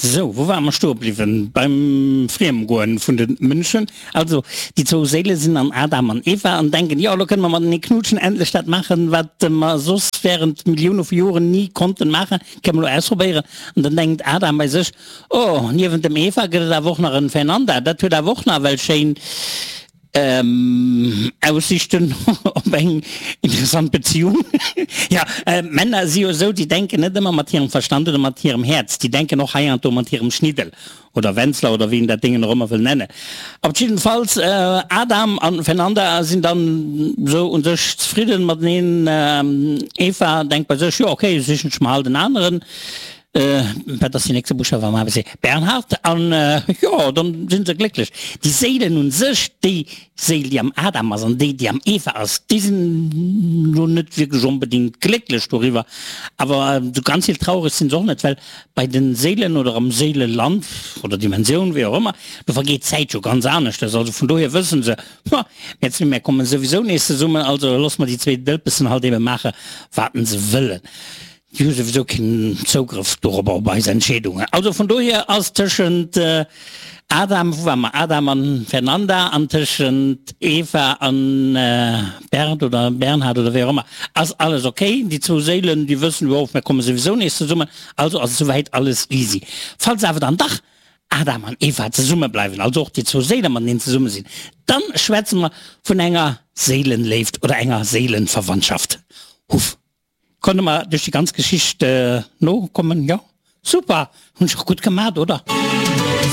Sou, wou ware mer stoe bliwwen? Beim Friemgoen vun de Mënschen. Also, déi zwou Séile sinn an Adam an Eva an denken, jo, elo kënne mer matenee knutschen, endlech dat maachen, wat mer soss während Millioune vu Joren ni konnten maachen, kënne mer elo ausprobéieren. An dann denkt Adam bei sech, Oh, niewent dem Eva gëtt et awer och nach en Fernanda, dat huet awer och nawell schéin Aussichten op eng interessant Beziehung. Jo, Männer si jo esou, déi denken net ëmmer mat hirem Verstand oder mat hirem Häerz, déi denken och heiansdo mat hirem Schniddel oder Wenzler oder wéi een dat Déngen och ëmmer wëll nennen. Op jiddefalls, Adam an Fernanda sinn dann esou un sech zefridden mateneen. Eva denkt bei sech, jo ok, sichen ech mer halt en aneren. Wat ass deen nächste Buschtaf am ABC? Bernhard, An jo, dann sinn se glécklech. Déi Séilen un sech, déi Séil déi am Adam ass an déi déi am Eva ass, déi sinn lo net wierklech onbedéngt glécklech doriwwer. Awer esou ganz vill traureg sinn se och net, well bei de Séilen oder am Séileland oder Dimensioun, wéi och ëmmer, do vergeet d'Zäit jo ganz aneschters. Also vun dohier wëssen se, Ha, mir zwee, mir kommen souwisou nees zesummen, also loosse mer déi zwee Dëlpessen halt ebe maache wat se wëllen. Déi hu souwisou keen Zougrëff dorobber, op eis Entscheedungen. Also vun dohier ass tëschent Adam, wou ware mer, Adam an Fernanda an tëschent Eva an Bernd oder Bernhard oder wéi och ëmmer, ass alles ok. Déi zwou Séilen, déi wëssen, jo, mir komme souwisou nees zesummen, also ass esouwäit alles easy. Falls awer dann dach Adam an Eva zesumme bleiwen, also och déi zwou Séile mateneen zesumme sinn, dann schwätze mer vun enger Séilenléift oder enger Séilenverwandtschaft. Huff. Konnte mer duerch déi ganz Geschicht nokommen? Jo? Super! Hunn ech och gutt gemat, oder?